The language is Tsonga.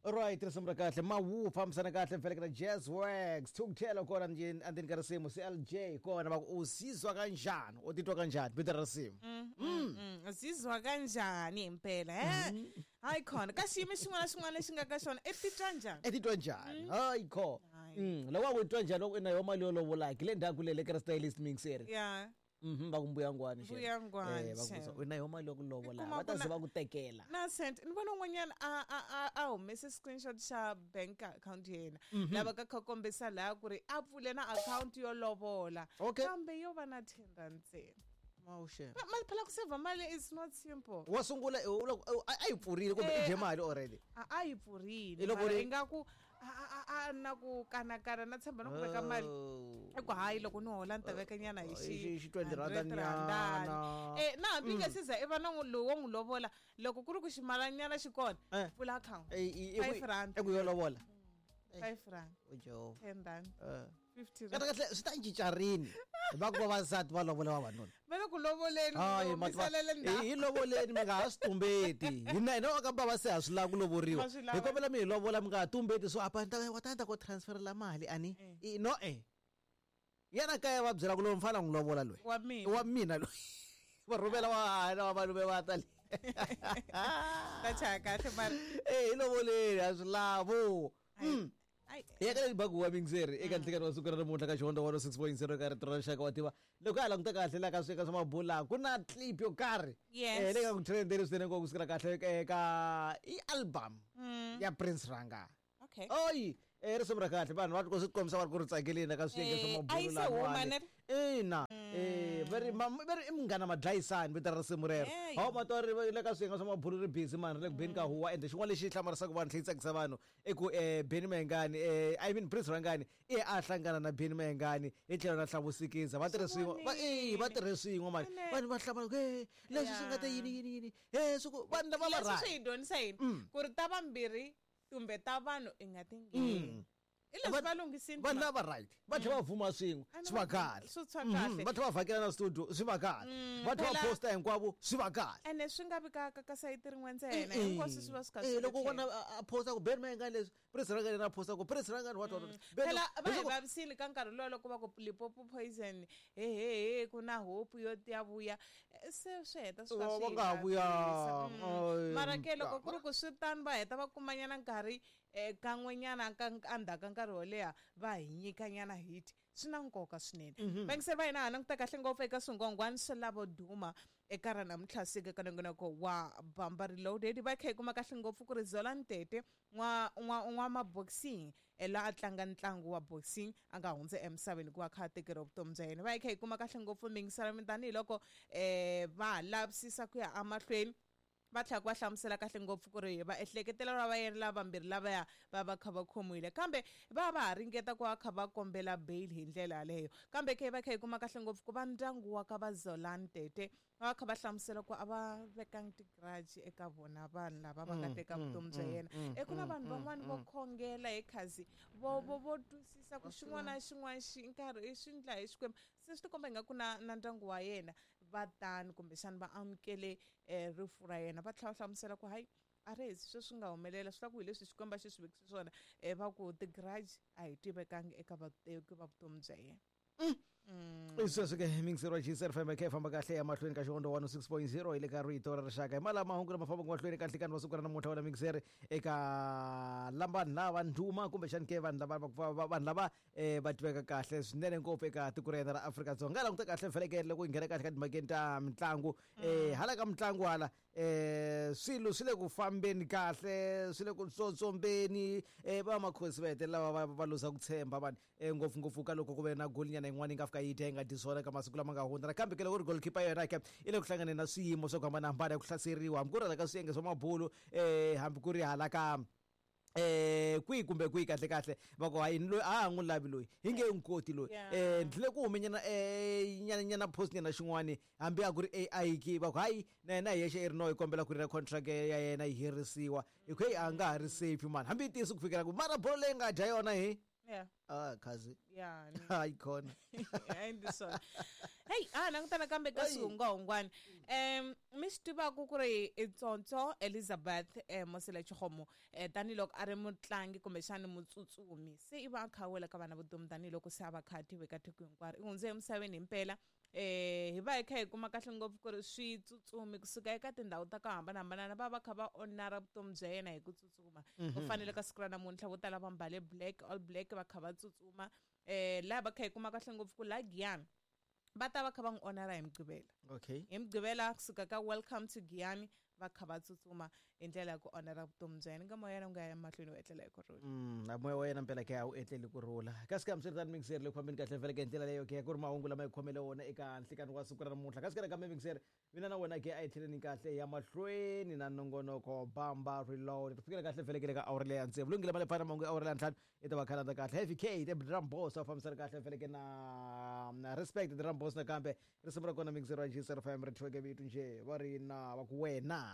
Right, risimu ra kahle mawu fambisana kahle mfeleke na Jazz Works Thukuthela kona endzeni ka risimu CLJ kona va ku u sizwa kanjani u titwa kanjani vito ra risimu. Uzizwa kanjani impela he? Hayi khona ka xiyimo xin'wana na xin'wana lexi nga ka xona i titwa njhani? I titwa njhani? Hayi kho. Hayi. Loko wa ku titwa njhani loko i na yo mali yo lovola ki le ndzhaku le le ka stylist mixer. Yeah. Va ku mbuya ngwani xana? Mbuya ngwani, Va ku xana. u na yo mali yo ku lovola Kuma va ta ku ze na- va ku tekela. Na sent ni vona un'wanyana a humese screenshot xa bank account ya yena lava ka kha kombisa laha ku ri a pfule na account yo lovola Okay. kambe yo va na 10 rand ntsena. Mawuxe. Mali phela ku save mali is not simple. Wa sungula a yi pfurile kumbe i dye mali already. A yi pfurile Hi loko mara ri- ingaku a na ku kanakana na tshemba na ku veka mali. Oh. I ku hayi loko ni hola ni ta veka nyana hi xi Xi 20 rand 100 randani. nyana. Na hambi nga se za i va na lowu wo n'wi lovola loko ku ri ku ximalanyana xi kona Eh. pfula account. Eh, i- 5 rand. i ku yo lovola. 5 rand. O Jehova. 10 rand. Eh. 50 Kahle rand. kahle swi ta cinca rini va ku vavasati va lovola vavanuna. Va le ku lovoleni Hayi mi salele ndzhaku. hi lovoleni mi nga ha swi tumbeti. Hina hina ka bava se ha swi lava ku lovoriwa. Ma swi lava. Hi kombela mi hi lovola mi nga ha tumbeti so apa ni ta wa ta ku transferela mali ani. No eh. Yena kaya va byela ku loyi mfana n'wi lovola loyi. Wa mina. Wa mina loyi. Va rhumela wa hana wa malume va ta le. Ta chaya kahle mara. Eh hi lovoleni ha swi lavo. Ai. Ya ka bagu wa mixer eka nhlekani wa siku ra namuntlha ka Xihondzo 106.0 ka rito ra rixaka wa tiva loko ha languta kahle la ka sweka swa mabula ku na clip yo karhi Yes. leyi nga ku trendeni swinene ngopfu kusukela kahle ka i album ya Prince Ranga. Okay. Oyi risimu ra kahle vanhu va swi kombisa va ri ku ri tsakeleni ka swiyenge swa A yi mabulu se huma lawani. ne? Ina. Va ri va ri i munghana madlayisani vito ra risimu rero. Hey. Hawu matwa ri le ka swiyenge swa mabulu ri busy mani ri le ku beni ka huwa ende xin'wana lexi hlamarisaka vanhu tlhe yi tsakisa vanhu i ku Benny Mayengani I mean Prince Rangani i a hlangana na Benny Mayengani hi tlhelo na Hlavusikiza va tirhe swin'we va va tirhe swin'we mani Ene. vanhu va hlamala ku leswi swi nga ta yini yini yini swi ku vanhu lava va Leswi right. swi hi dyondzisa yini? Ku ri ta vambirhi kumbe ta vanhu i nga ti ngheni. I leswi va lunghisini Vanhu lava right va tlhela va vuma swin'we Ani swi va kahle. swi tshwa kahle. Va tlhela va vhakela na studio swi va kahle. Va tlhela va Phela- posta hinkwavo swi va kahle. Ene swi nga vi ka sayiti rin'we ntsena hinkwaswo swi va swi kha swi ri Loko tlhelo. vona a posta ku Benny Mayengani leswi Prince Rangani na posta ku Prince Rangani what what. Benny- Phela va hi leswaku- vavisile ka nkarhi luwa loko va ku Limpopo poison he he he ku na hope yo ya vuya se swi heta swi Va va swi nga ha hi vuya. vavisa. Ay, Mara ke loko ku ri ku swi tano va heta va kumanyana nkarhi kan'wenyana ka endzhaku ka nkarhi wo leha va hi nyikanyana hit swi na nkoka swinene. Vayingiseri va hina ha languta kahle ngopfu eka swingwangwani swa lavo duma eka ra namuntlha siku eka nongonoko wa Bamba Reloaded va kha hi kuma kahle ngopfu ku ri Zola Ntete n'wa boxing laha a tlanga ntlangu wa boxing a nga hundza emisaveni ku va kha a tekeriwa vutomi bya yena. Va kha hi kuma kahle ngopfu mingisela tanihiloko va ha lavisisa ku ya emahlweni va tlhela va hlamusela kahle ngopfu ku ri va ehleketela va yena lava vambirhi lavaya va va kha va khomiwile kambe va va ha ringeta ku va kha va kombela bail hi ndlela yaleyo kambe ke va kha hi kuma kahle ngopfu ku va ndyangu wa ka va Zola Ntete va kha va hlamusela ku a va vekangi ti-grudge eka vona vanhu lava va nga teka vutomi bya yena. Ku na vanhu van'wani vo khongela hi khazi vo vo vo twisisa ku xin'wana na xin'wana xi nkarhi i swi ndla hi Xikwembu se swi tikomba ingaku na ndyangu wa yena va tani kumbexana va amukele rifu ra yena va tlhela va hlamusela ku hayi a ri hezi sweswi nga humelela swi la ku hi leswi Xikwembu a xi swi vekise swona va ku ti-grudge a hi tivekangi eka vateki va vutomi bya yena. Sweswi ke mixer wa GCR FM kha yi famba kahle ya mahlweni ka Xihondzo 106.0 hi le ka rito ra rixaka hi malama mahungu lama fambaka mahlweni ka nhlikani wa siku ra namuntlha wena mixer eka vanhu lava ndhuma kumbexani ke vanhu lava vanhu lava va tiveka kahle swinene ngopfu eka tiko ra hina ra Afrika-Dzonga. Languta kahle felekele loko hi nghena kahle ka timhakeni ta mitlangu hala ka mitlangu hala swilo swi le ku fambeni kahle swi le ku tsotsombeni va makhosi va hetelela va luza ku tshemba vanhu ngopfungopfu ka loko ku ve na golinyana yin'wana yi nga fika yi dya yi nga dyi swona ka masiku lama nga hundza nakambe ke loko ri goalkeeper yona ke i le ku hlanganeni na swiyimo swa ku hambanahambana ya ku hlaseriwa hambi ku ri hala ka swiyenge swa mabulu hambi ku ri hala ka kwihi kumbe kwihi kahle kahle va ku hayi loyi a ha n'wi lavi loyi hi nge n'wi koti loyi ndlile ku humenyana nyana nyana post nyana xin'wani hambi a ku ri AI ki va ku hayi na yena hi yexe i ri no hi kombela ku ri na contract ya yena yi herisiwa hi ku heyi a nga ha ri safe mani hambi yi tiyisi ku fikela ku mara bolo leyi nga dya yona hi Yeah. Ah, khazi. Ya ni Hayi khona. Endli swona. Heyi, a languta nakambe ka Ayi. swihungwahungwana. Mi swi tivaku ku ri i Tsontsho Elizabeth Mosele Chikgomo, tanihiloko a ri mutlangi kumbexani mutsutsumi, se i va a kha a wela ka vana vutomi tanihiloko se a va kha a tiveka tiko hinkwaro. I hundze emisaveni himpela. Hi va hi kha hi kuma kahle ngopfu ku ri switsutsumi kusuka eka tindhawu ta ku hambanahambana va va kha va onara vutomi bya yena hi ku tsutsuma. Ku fanele ka siku ra namuntlha vo tala va mbale black, all black, va kha va tsutsuma. Laha va kha hi kuma kahle ngopfu ku laha Giyani va ta va kha va n'wi onara hi Mugqivela. Hi Mugqivela kusuka ka Welcome to Giyani va kha va tsutsuma hi ndlela ya ku onara vutomi bya yena. Nga moya yena wu nga ya emahlweni wu etlela hi ku rhula. Na moya wa yena mpela ke a wu etleli ku rhula. Kasi ka hambiswiritano mixer le ku fambeni kahle vhele ke hi ndlela leyo ke ku ri mahungu lama hi khomele wona eka nhlikani wa siku ra namuntlha. Kasi ka nakambe mixer mina na wena ke a hi tlheleni kahle ya mahlweni na nongonoko Bamba Reload. Ku fikela kahle vhele ke le ka awara leya ya tsevu. Lunghile male phana mahungu ya awara leya ntlhanu i ta va khalanda kahle. Heavy K the Drum Boss va fambisana kahle vhele ke na Respect the Drum Boss nakambe risimu ra kona mixer wa G05 ri thyiweke vito njhe va ri na va ku wena.